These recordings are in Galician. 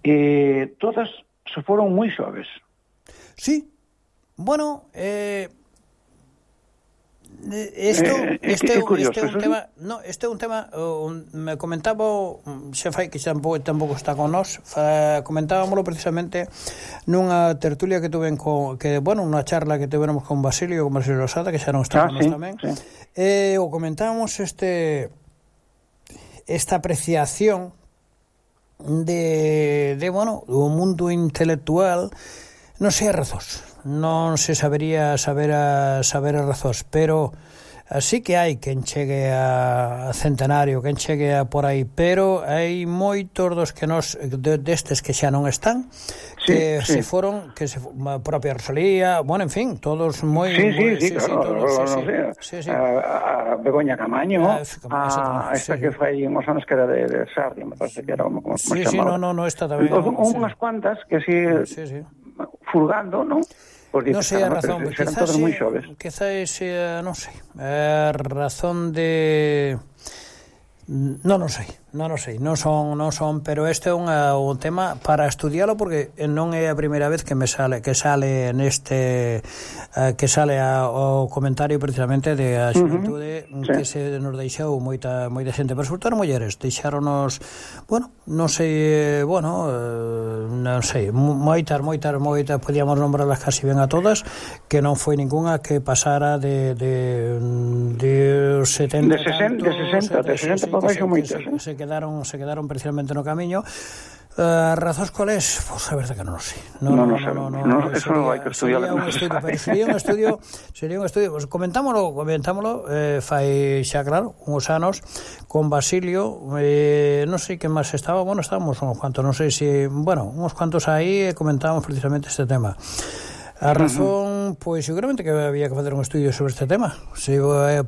e todas se foron moi xoves. Sí, bueno, este é un tema me comentaba xa fai que xa tampouco está con nós, comentábamoslo precisamente nunha tertulia que tuven unha charla que tuveramos con Basilio Losada, que xa non está con nós tamén, o comentábamos esta apreciación de do mundo intelectual. Non sei as razóns, non se sabería saber as razóns, pero así que hai quen chegue a centenario, quen chegue a por aí, pero hai moitos dos que destes que xa non están, que se foron, a propia Rosalía, en fin, todos moi... A Begoña Camaño, a esta que fai uns anos que era de Sardia, me parece que era como chamaba. Esta tamén. Unhas cuantas que así... furgando, non? Porque non sei a razón, quizás non sei, a razón de... Non sei, non son, pero este é un tema para estudialo, porque non é a primeira vez que sale neste que sale o comentario precisamente de a xuventude que se nos deixou moita xente, pero sobre todo mulleres, deixáronos, non sei, moitas, podíamos nombrarlas casi ben a todas, que non foi ninguna que pasara de 70 se quedaron precisamente no camiño. Razóns cuales? Pois a verdade que non sei. Non, eso non hai que estudiar. Sería un estudio, pues comentámoslo, fai xa claro, uns anos con Basilio, non sei que máis estaba, estábamos uns cuantos, non sei se, uns cuantos aí, comentábamos precisamente este tema. A razón, pois seguramente que había que facer un estudio sobre este tema,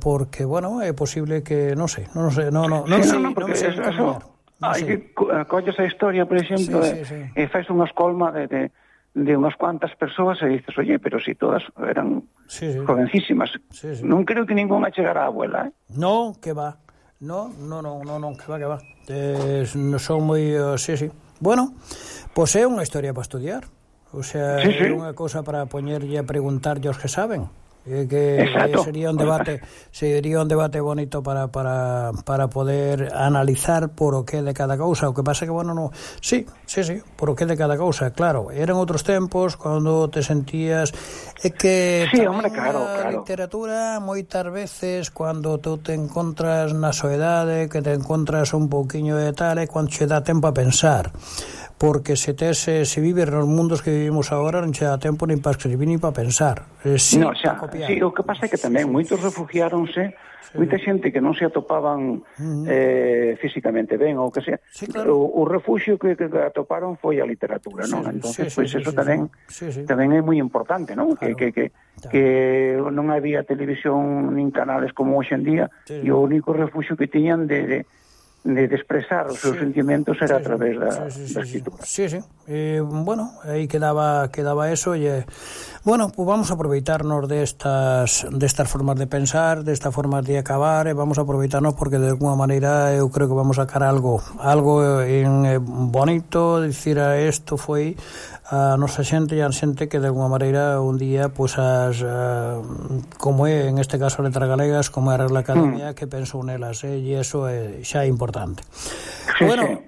porque, é posible que, non sei, non sei hai que colles a historia, por exemplo, e fais unha escolma de unhas cuantas persoas e dices, oye, pero si todas eran jovencísimas, non creo que ninguna chegara a abuela, Non, que va, non, que va, son moi, bueno, pois é unha historia para estudiar. O sea, é unha cousa para poñerlle a preguntarlle aos que saben, que sería un debate bonito para poder analizar por o que de cada cousa. O que pasa que, por o que de cada cousa, claro, eran outros tempos cando te sentías que a literatura moitas veces cando tú te encontras na soedade, que te encontras un pouquiño de tal, é cando che dá tempo a pensar, porque se vives nos mundos que vivimos agora non che dá tempo nin para escribir nin para pensar. O que pasa é que tamén moitos refugiáronse, moita xente que non se atopaban físicamente ben, ou que sea, o refuxio que atoparon foi a literatura, non? Entonces, pois eso tamén é moi importante, non? Que non había televisión nin canales como hoxe en día, e o único refuxio que tiñan de expresar os seus sentimentos era a través da escritura. Aí quedaba eso, e pues vamos a aproveitarnos destas formas de pensar, destas formas de acabar, e vamos a aproveitarnos porque de alguna maneira eu creo que vamos a sacar algo bonito, dicir, isto foi a nosa xente e a xente que de alguna maneira un día, pois como é en este caso Letras Galegas, como é a Real Academia, que pensou nelas, e iso xa é importante.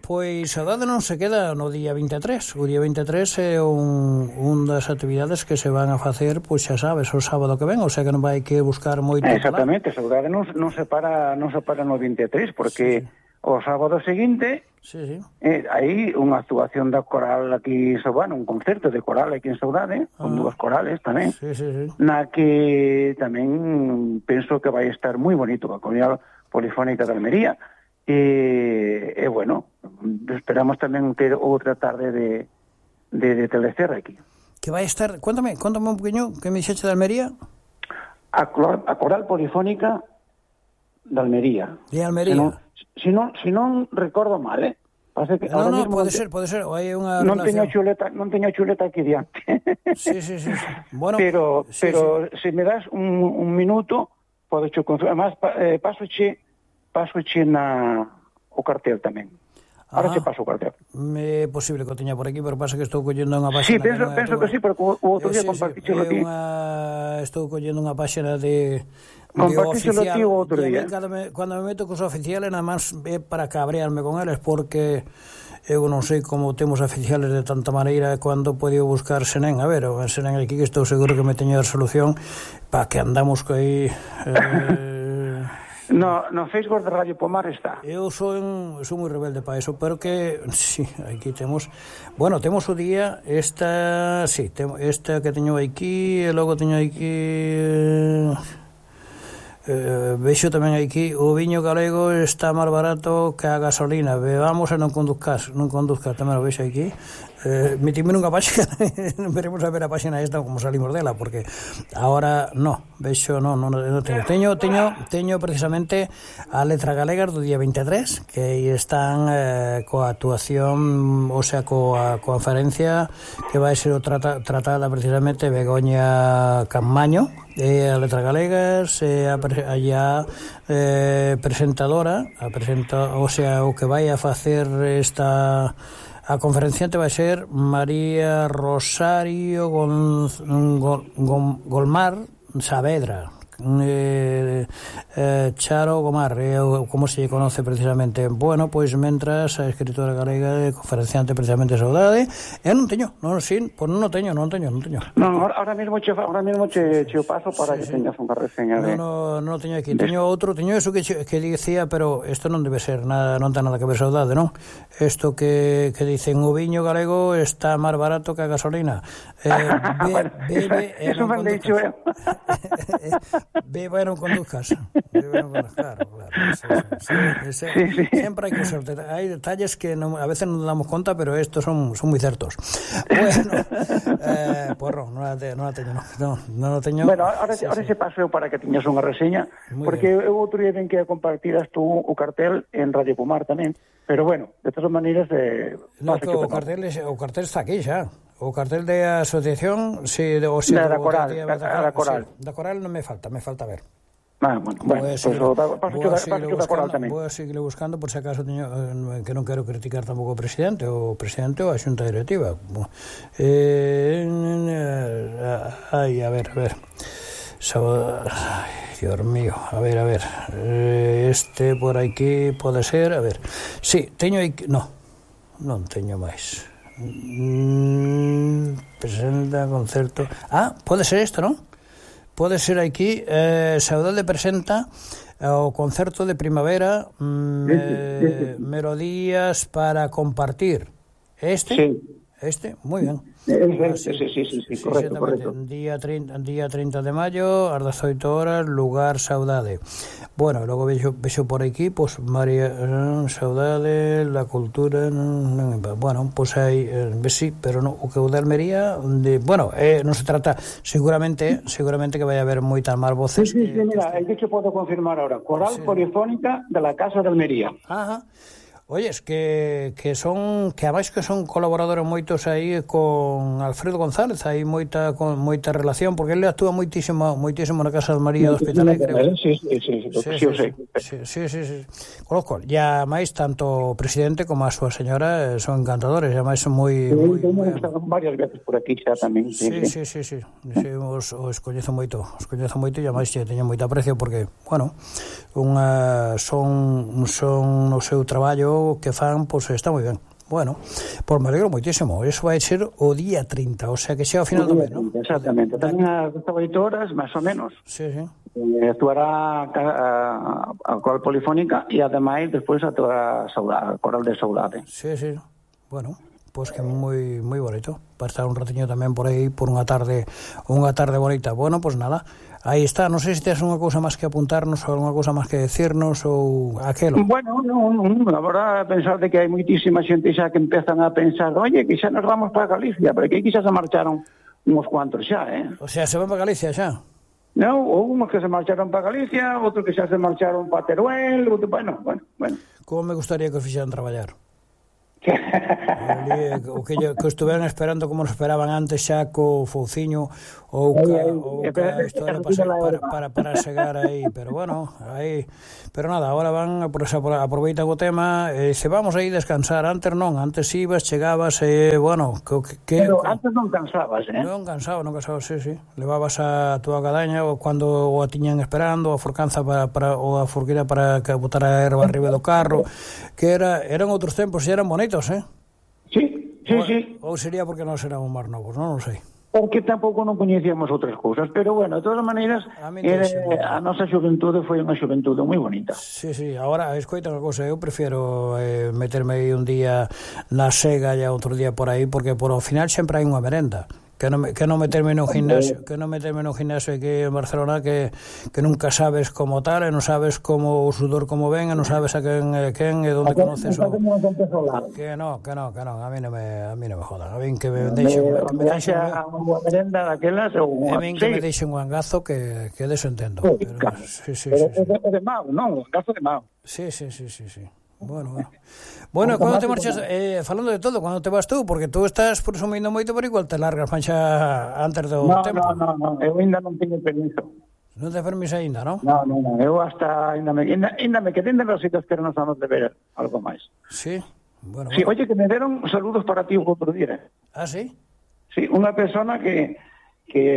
Pois a dade non se queda no día 23. O día 23 é un das actividades que se van a facer, pois xa sabes, o sábado que ven, o sea que non vai que buscar moito. Exactamente, a saudade non se para no 23, porque o sábado seguinte hai unha actuación da coral aquí, un concerto de coral aquí en Saudade, con dúas corales tamén, na que tamén penso que vai estar moi bonito a Coral Polifónica de Almería. E esperamos tamén ter outra tarde de Telecerra aquí. Que vai estar, cuéntame un poquinho, que me dixeche de Almería? A Coral Polifónica de Almería. De Almería. Si non recordo mal, que no, pode ser, hai unha non teño chuleta aquí diante. Sí. Bueno, pero se me das un minuto, podo che confirmar, pasoche o cartel tamén. Ahora che paso o cartel. É posible que o teña por aquí, pero pasa que estou collendo unha páxina... Sí, penso que sí, pero o outro día compartíxelo ti. Estou collendo unha páxina de compartíxelo ti o outro día. Cando me meto cos oficiales, nada máis é para cabrearme con eles, porque eu non sei como temos oficiales de tanta maneira cando podo buscar Senén. A ver, o Senén aquí que estou seguro que me teño a solución para que andamos co aí... No Facebook de Radio Pomar está. Eu sou moi rebelde para eso, pero que sí, aquí temos. Bueno, temos o día esta que teño aquí, e logo teño aquí vexo tamén aquí o viño galego está máis barato que a gasolina. Bebamos e non conduzcas tamén o vexo aquí. Metime nunha páxina veremos a ver a páxina esta como salimos dela, porque ahora vexo non teño precisamente a Letra Galegas do día 23 que aí están coa actuación, o sea, coa conferencia que vai ser tratada precisamente Begoña Campaño, a Letra Galegas, allá presentadora, o sea, o que vai a facer esta... A conferenciante vai ser María Rosario Golmar Saavedra, Charo Gomar, como se lle conoce precisamente. Bueno, pois mentras a escritora galega e conferenciante precisamente Saudade, eu non teño. Non teño. Non, ahora mismo che o paso para que teñas unha reseña de... Non teño aquí. Teño eso que dicía, pero isto non debe ser nada, non ten nada que ver Saudade, non? Isto que dicen o viño galego está máis barato que a gasolina. Bebe e non conduzcas. Beba e non conduzcas. Claro. Sempre hai que ser. Hai detalles que a veces non damos conta, pero estos son moi certos. Bueno, porro, non a teño. Bueno, ahora se paseo para que teñas unha reseña, porque eu outro día ven que compartiras tú o cartel en Radio Pomar tamén, pero bueno, de todas maneiras... o cartel está aquí xa. O cartel de asociación, da Coral. Da Coral non me falta ver. Bueno, paso da Coral tamén. Vou a seguir buscando, por se acaso teño, que non quero criticar tampouco o presidente ou a xunta directiva. A ver. Dios mío, a ver. Este por aquí pode ser, a ver. Sí, teño aquí, non teño máis. Presenta concerto. Pode ser isto, non? Pode ser aquí. Saudade presenta o concerto de primavera, melodías para compartir. Este, moi ben. Sí, correcto. Día 30 de maio, ás 18 horas, lugar Saudade. Bueno, logo vexo por aquí, pues María Saudade, la cultura, bueno, pues hai, sí, pero no, o que o de Almería, non se trata, seguramente que vai haber moitas máis voces. Sí, mira, eu te podo confirmar ahora, Coral Polifónica de la Casa de Almería. Ajá. Oyes, que ademais que son colaboradores moitos aí con Alfredo González, hai moita relación, porque ele actúa moitísimo na Casa de María do Hospitalet, creo. Sí. Conozco, e ademais tanto o presidente como a súa señora son encantadores, e ademais son moi varias veces por aquí xa tamén. Sí, os coñezo moito, e ademais teño moito aprecio porque, bueno, son no seu traballo que fan, pois está moi ben. Bueno, pois me alegro moitísimo. Eso vai ser o día 30, o sea que xa ao final do mes, non? Exactamente. Tamén ás 8 horas, máis ou menos. Sí. Actuará a Coral Polifónica e ademais despois actuará a Coral de Saudade. Sí. Bueno, pois que moi bonito. Para estar un ratiño tamén por aí, por unha tarde bonita. Bueno, pois nada. Aí está, non sei se tes unha cousa máis que apuntarnos ou unha cousa máis que decirnos ou aquelo. Bueno, agora pensar de que hai moitísima xente xa que empezan a pensar, oye, que xa nos vamos para Galicia, porque aquí xa se marcharon uns cuantos xa, O sea, se van para Galicia xa? Non, houve uns que se marcharon para Galicia, outros que xa se marcharon para Teruel, bueno. Como me gustaría que os fixeran traballar? O que estuveran esperando como nos esperaban antes xa co Fouciño ou ca historia para chegar aí, pero bueno, aí, pero nada, agora van aproveitan o tema e se vamos aí descansar. Antes non, antes ibas, chegabas e bueno, pero antes non cansabas, Non cansaba, sí. Levabas a túa cadaña ou cando o tiñan esperando, a forcanza para ou a forquira para que botar a erva arriba do carro, que eran outros tempos e eran bonitos, Sí. Ou sería porque nós éramos máis novos, non sei. Porque tampouco non coñecíamos outras cousas, pero bueno, de todas maneiras, a nosa xuventude foi unha xuventude moi bonita. Sí, agora, escoita unha cousa, eu prefiro meterme aí un día na Sega e outro día por aí, porque por ao final sempre hai unha merenda. Que non meterme no gimnasio, aquí en Barcelona que nunca sabes como tal, e non sabes como o sudor como ven, e non sabes a quen e onde conoces o... Que non, a mí non me jodan. A mí que me deixen unha merenda daquelas ou a mí que me deixen un angazo que deso entendo. Sí. Pero de Mao, non, un angazo de Mao. Sí. Bueno, cando te marchas, falando de todo, cando te vas tú, porque tú estás presumindo moito, pero igual te largas mancha antes do tempo. Non, eu ainda non teño permiso. Non te permiso ainda, non? Non, eu hasta ainda me quedé en los sitios que nos vamos de ver algo máis. Sí, bueno. Sí, oye, que me deron saludos para ti o outro día. Ah, sí? Sí, unha persona que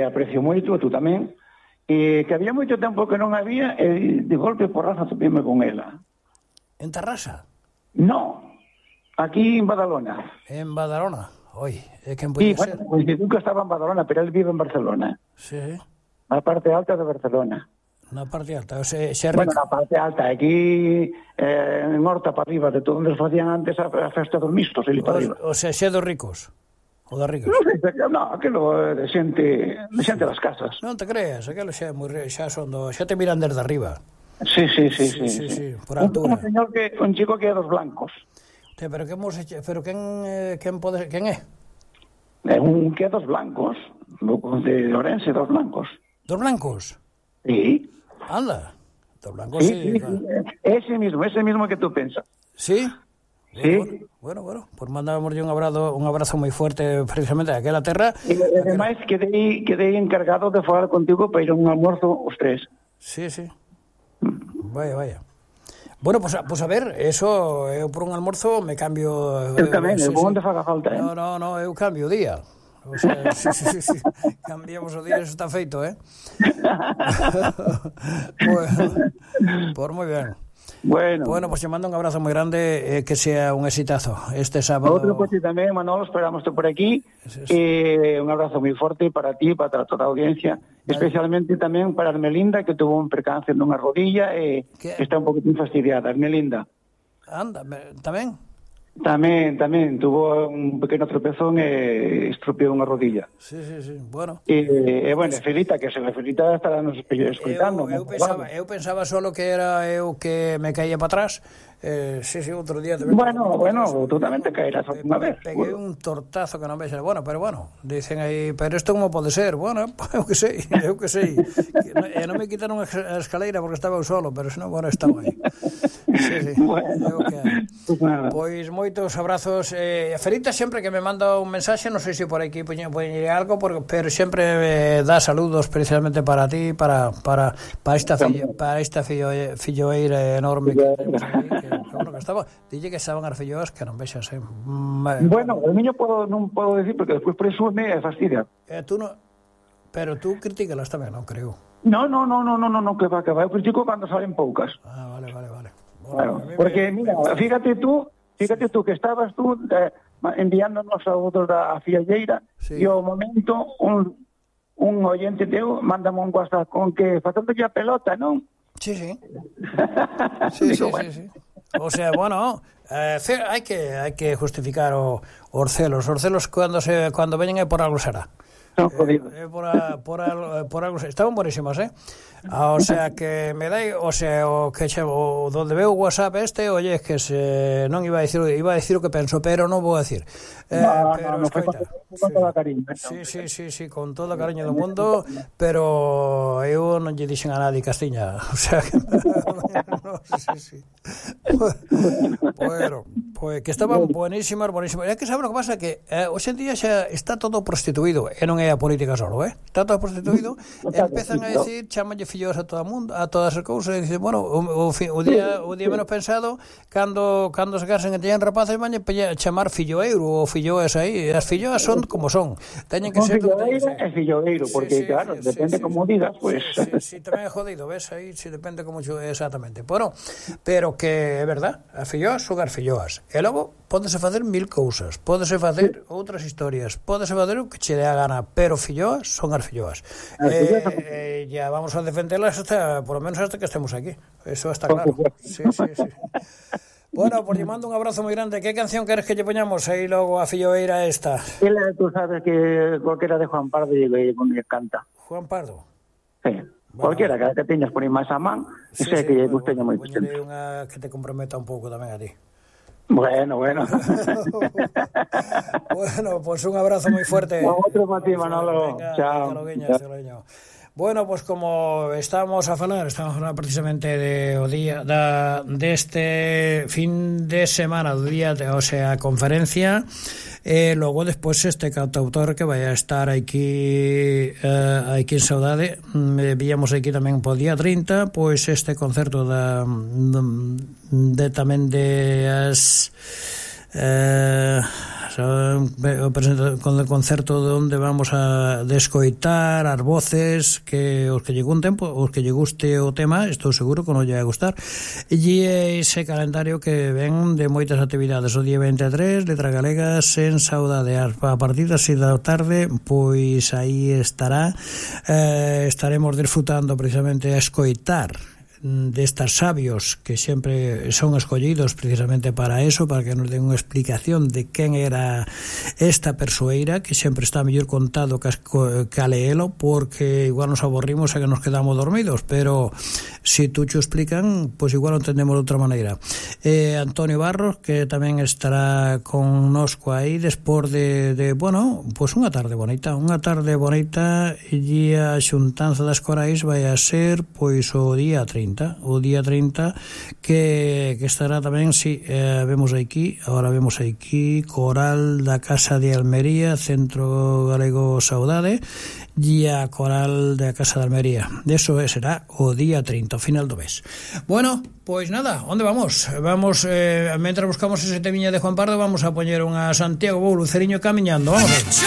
aprecio moito, tú tamén, que había moito tempo que non había, e de golpe porrazo topime con ela. En Tarrasa? No, aquí en Badalona. En Badalona? Oi, quen podía ser? Bueno, pues nunca estaba en Badalona, pero él vive en Barcelona. Sí. Na parte alta de Barcelona. Na parte alta, na parte alta, aquí en Horta para arriba, de todo onde facían antes a festa dos mistos, ali para arriba. O sea, xe dos ricos? O das ricas? No, aquilo de xente das casas. Non te creas, aquilo xa te miran desde arriba. Sí, por altura. Un chico que é dos blancos. Pero quen é? É un que é dos blancos, de Orense, dos blancos. Dos blancos? Sí. Anda, dos blancos sí. Ese mismo que tú pensas. Sí? Sí. Bueno, pues mandábamos un abrazo moi fuerte precisamente a aquela terra. E ademais quedei encargado de falar contigo para ir a un almuerzo os tres. Sí. Vaya. Bueno, pues a ver, eso, eu por un almuerzo me cambio... Eu tamén, eu vou onde faga falta, No, eu cambio o día. O sea, sí. Cambiamos o día, eso está feito, Pues moi ben. Bueno, pues te mando un abrazo moi grande, que sea un exitazo este sábado. Outro coche tamén, Manolo, esperamos por aquí. Un abrazo moi forte para ti, para toda a audiencia, especialmente tamén para Armelinda, que tuvo un percance nunha rodilla e está un poquitín fastidiada. Armelinda. Anda, tamén? Tamén tuvo un pequeno tropezón e estropeou unha rodilla. Sí, bueno. E bueno, Felita estará nos escoitando. Eu pensaba solo que era eu que me caía para atrás. Sí, outro día tamén. Bueno, tú tamén te caerás unha vez. Peguei un tortazo que non vexas. Pero bueno, dicen aí, pero isto como pode ser? Bueno, eu que sei. E non me quitaron a escaleira porque estaba eu solo, pero senón, bueno, estaba aí. Sí. Bueno, pois moitos abrazos. Felita sempre que me manda un mensaxe, non sei se por aquí poñeré algo, pero sempre dá saludos precisamente para ti, para esta filloeira enorme que temos aí, que estaba. Dille que estaban as filloas que non vexas. Bueno, o niño non podo decir porque despois presume e fastidia. Pero tú critícalas tamén, non creo. No, que va. Eu critico cando salen poucas. Ah, vale. Bueno, porque, mira, fíjate tú que estabas tú enviándonos saúdos da fialleira e ao momento un oyente teu mándame un WhatsApp con que facendo a pelota, non? Sí. Sí. O sea, bueno, hai que justificar os celos. Os celos cando veñen é por algo será. Son jodidos. Por algo estaban buenísimas, o sea que me dai, o sea, o que o donde veo WhatsApp oye, es que non iba a decir o que penso, pero non vou a decir. Pero no, con todo cariño. Sí, con todo o cariño do mundo, pero eu non lle dixen a nadie Castiña, o sea, que no, sí. Bueno, pues que estaban buenísimas. É que sabe o que pasa, que hoxe en día xa está todo prostituído, e non é a política solo, está todo prostituído, empezan a decir, chamanlle fillos a todo o mundo, a todas as cousas, e dicen, bueno, o día menos pensado, cando se casen e teñan rapaces, van a chamar filloeiro ou filloas aí, as filloas son como son, teñen que ser filloeiro e filloeiro, porque claro, depende como digas, pues. Sí, tamén é jodido, ves aí, si depende como exactamente. Bueno, pero que é verdad, as filloas son as filloas, e logo pódese facer mil cousas, pódese facer outras historias, pódese facer o que che dé a gana, pero filloas son as filloas. Ya vamos a defenderlas hasta, por lo menos hasta que estemos aquí. Eso está claro. Sí. Bueno, pues lle mando un abrazo moi grande. Que canción queres que lle poñamos aí logo a filloeira esta? Tú sabes que cualquiera de Juan Pardo lle canta. Juan Pardo? Sí. Bueno, cualquiera que teñas por aí máis a man, sei que lle gusteña moito. Poñerei unha que te comprometa un pouco tamén a ti. Bueno. Bueno, pues un abrazo moi fuerte. Outro para ti, Manolo. Venga, chao. Bueno, pues como estamos a falar precisamente o día deste fin de semana, do día, o sea, conferencia, logo despois este cantautor que vai a estar aquí en Saudade, víamos aquí tamén po día 30, pois este concerto tamén de as con el concerto onde vamos a descoitar as voces que os que lle guste o tema, estou seguro que non lle vai gustar, e ese calendario que ven de moitas actividades. O día 23, Letras Galegas en Saudade, a partir das 6 da tarde, pois aí estaremos disfrutando precisamente a escoitar destas sabios que sempre son escollidos precisamente para eso, para que nos den unha explicación de quen era esta persoeira, que sempre está mellor contado que a leelo, porque igual nos aburrimos e que nos quedamos dormidos, pero si tú cho explican, pois igual o entendemos de outra maneira. Antonio Barros, que tamén estará connosco aí despois de bueno, pois unha tarde bonita, e a xuntanza das corais vai a ser pois o día 30, que estará tamén, vemos aquí Coral da Casa de Almería, Centro Galego Saudade, e a Coral da Casa de Almería. Eso será o día 30, o final do mes. Bueno, pois nada, onde vamos? Mentre buscamos ese temiña de Juan Pardo, vamos a poñer unha Santiago Bou, Luceriño camiñando. Vamos.